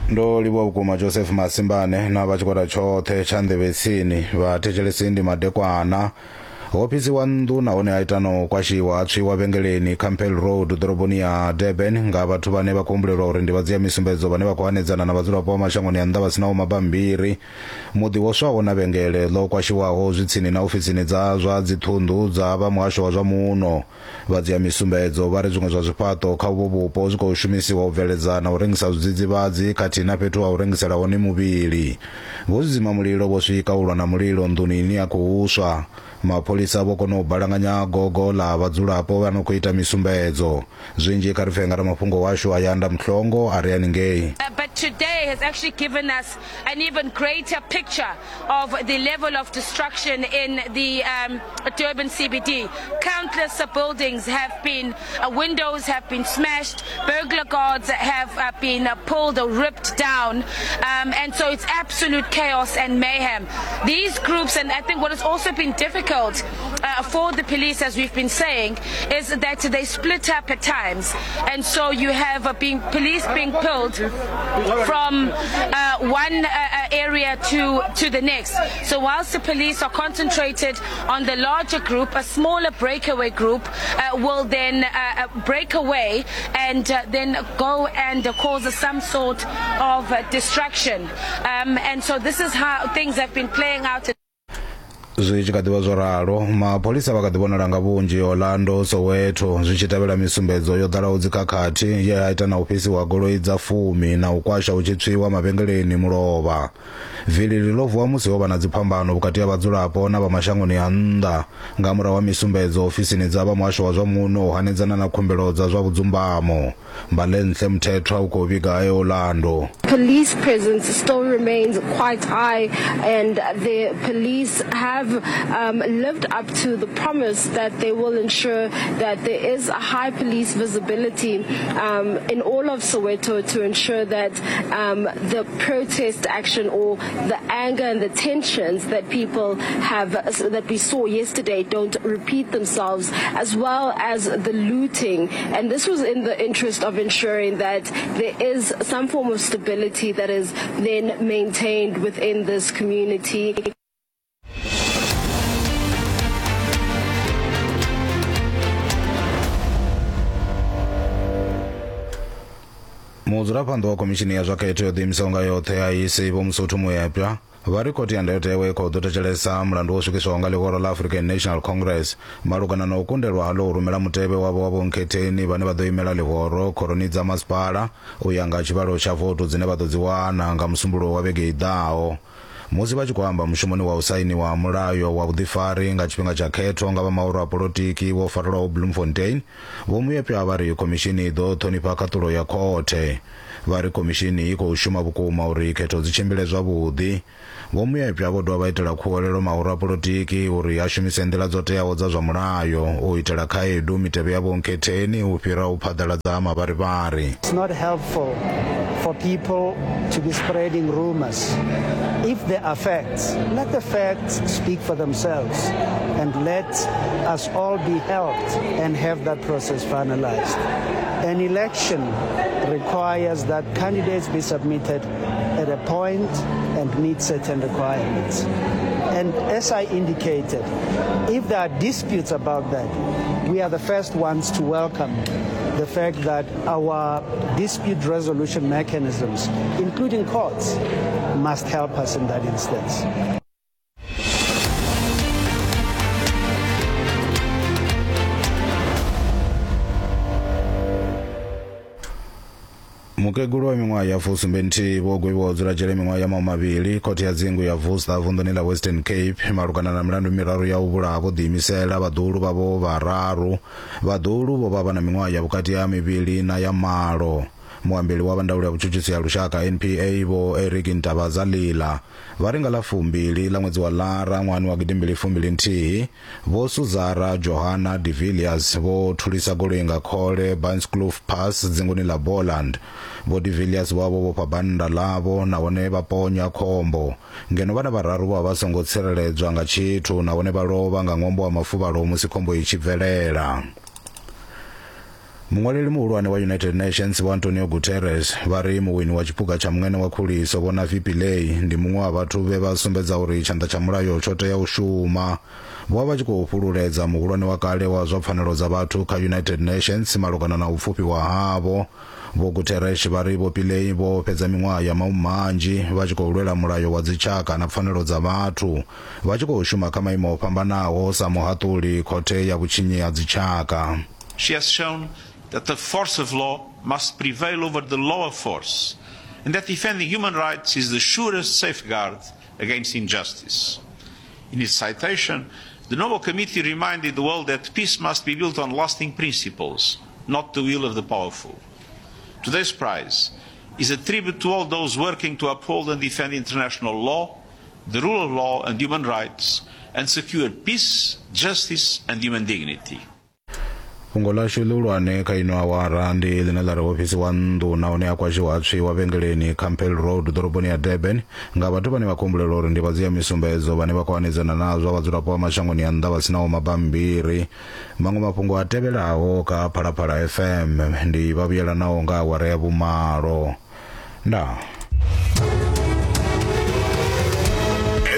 Ndo livhuwa vhukuma Joseph Masimbane na vha tshigwada tshoṱhe tsha nḓevhe tsini. Vhathetshelesi ndi madekwana. Ho fhisiwa nnḓu nahone ha ita na u kwashiwa ha tswiwa vhengeleni Campbell Road ḓoroboni ya Durban nga vhathu vhane vha khou humbulelwa uri ndi vhadzia misumbedzo vhane vha khou hanedzana na vhadzulapo vha mashangoni a nnḓa vha sinaho mabammbiri. Muḓi wo swaho na vhengele ḽo kwashiwaho zwi tsini na ofisini dza zwa dziṱhunḓu dza vha muhasho wa zwa muno. Vhadzia misumbedzo vha ri zwiṅwe zwa zwifhaṱo kha uvho vhupo zwi khou shumisiwa u bveledza na u rengisa zwidzidzivhadzi khathihi na fhethu ha u rengisela hone muvhili. Vho zwidzimamulilo vho swika u lwa na mulilo nḓuni ine ya khou swa. Mapholisa vho kona u balanganya gogo ḽa vhadzulapo vha no khou ita misumbedzo. Zwinzhi kha ri pfe nga ramafhungo washu Ayanda Mhlongo a re haningei. But today has actually given us an even greater picture of the level of destruction in the um, Durban CBD. Countless buildings have been, uh, windows have been smashed, burglar guards have uh, been uh, pulled or ripped down, um, and so it's absolute chaos and mayhem. These groups, and I think what has also been difficult uh, for the police, as we've been saying, is that they split up at times, and so you have uh, being police being pulled from uh, one uh, uh, area to, to the next. So whilst the police are concentrated on the larger group, a smaller breakaway group uh, will then uh, uh break away and uh, then go and cause some sort of uh, destruction. Um, and so this is how things have been playing out. Zwi tshi kha ḓi vha zwo ralo, mapholisa vha kha ḓi vhonala nga vhunzhi Orlando, Soweto, zwi tshi tevhela misumbedzo yo ḓalaho dzikhakhathi ye ha ita na u fhisiwa goloi dza fumi na u kwasha hu tshi tswiwa mavhengeleni mulovha. Vilili ḽo vuwa musi ho vha na dziphambano vhukati ha vhadzulapo na vha mashangoni a nnḓa nga murahu ha misumbedzo ofisini dza vha muhasho wa zwa muno u hanedzana na khumbelo dza zwa vhudzumbamo. Mbalenhle Mthethwa u khou vhiga e Orlando. Police presence still remains quite high and the police have um, lived up to the promise that they will ensure that there is a high police visibility um, in all of Soweto to ensure that um, the protest action or the anger and the tensions that people have that we saw yesterday don't repeat themselves, as well as the looting. And this was in the interest of ensuring that there is some form of stability that is then maintained within this community. Mudzulaphanḓa wa khomishini ya zwa khetho yo ḓiimisaho nga yoṱhe ya IEC Vho Mosotho Moepya vha ri khothe ya ndayotewa i khou ḓo thetshelesa mulandu wo swikiswaho nga ḽihoro ḽa African National Congress malugana na u kundelwa haḽo u rumela mutevhe wavho wa vhonkhetheni vhane vha ḓo imela ḽihoro khoroni dza masipala u ya nga tshivhalo tsha votu dzine vha ḓo dzi wana nga Musumbuluwo wa vhege i ḓaho. Musi vha tshi khou amba mushumoni wa u sainiwa ha mulayo wa vhuḓifari nga tshifhinga tsha khetho nga vha mahoro a polotiki wo farelwaho Bloemfontein, Vho Moepya vha ri khomishini i ḓo ṱhonifha khaṱulo ya khothe. Vha ri khomishini i khou shuma vhukuma uri khetho dzi tshimbile zwavhuḓi. Vho Moepya vho dovha vha itela khuwelelo mahoro a polotiki uri a shumise nḓila dzo teaho dza zwa mulayo u itela khaedu mitevhe ya vhonkhetheni u fhira u phaḓaladza ha mavharivhari. It's not helpful for people to be spreading rumors. If there are facts, let the facts speak for themselves and let us all be helped and have that process finalized. An election requires that candidates be submitted at a point and meet certain requirements. And as I indicated, if there are disputes about that, we are the first ones to welcome the fact that our dispute resolution mechanisms, including courts, must help us in that instance. Mukegulu wa miṅwaha ya fusumbenthihi vho gwevhiwa u dzula dzhele miṅwaha ya mahumavhili khothe ya dzingu ya Worcester vunḓuni ḽa Western Cape malugana na milandu miraru ya u vhulaha vho ḓiimisela vhaḓuhulu vhavho vhararu. Vhaḓuhulu vho vha vha na miṅwaha ya vhukati ha mivhili na ya malo. Muambeli wa vha ndaulo ya vhutshutshisi ha lushaka NPA Vho Eric Ntabazalila vha ri nga ḽa fumbili ḽa ṅwedzi wa Lara ṅwahani wa gidimbili fumbili nthihi Vho Suzara Johanna de Villiers vho thulisa goloi nga khole Bainskloof Pass dzinguni ḽa Boland. Vho de Villiers vho vha vho vhofha bannda ḽavho nahone vha ponya khombo. Ngeno vhana vhararu vho vha vha songo tsireledzwa nga tshithu nahone vha lovha nga ṅwambo wa mafuvhalo musi khombo i tshi bvelela. Muṅwaleli muhulwane wa United Nations Vho Antonio Guterres vha ri muwini wa tshiphuga tsha muṅene wa khuliso Vho Navi Pillay ndi muṅwe wa vhathu vhe vha sumbedza uri tshanḓa tsha mulayo tsho tea u shuma. Vho vha vha tshi khou fhululedza muhulwane wa kale wa zwa pfanelo dza vhathu kha United Nations malugana na u pfufhiwa havho. Vho Guterres vha ri Vho Pillay vho fhedza miṅwaha ya mahumanzhi vha tshi khou lwela mulayo wa dzitshaka na pfanelo dza vhathu, vha tshi khou shuma kha maimo o fhambanaho sa muhaṱuli khothe ya vhutshinyi ha dzitshaka. She has shown that the force of law must prevail over the law of force, and that defending human rights is the surest safeguard against injustice. In its citation, the Nobel Committee reminded the world that peace must be built on lasting principles, not the will of the powerful. Today's prize is a tribute to all those working to uphold and defend international law, the rule of law and human rights, and secure peace, justice and human dignity. Fhungo ḽashu ḽihulwane kha ino awara ndi ḽine ḽa ri ho fhisiwa nnḓu nahone ha kwashiwa ha tswiwa vhengeleni Campbell Road ḓoroboni ya Durban nga vhathu vhane vha khou humbulelwa uri ndi vhadzia misumbedzo vhane vha khou hanedzana nazwo vhadzulapo vha mashangoni a nnḓa vha sinaho mabammbiri. Maṅwe mafhungo a tevhelaho kha Phalaphala FM ndi vha vhuyelanaho nga awara ya vhumalo. Ndaa.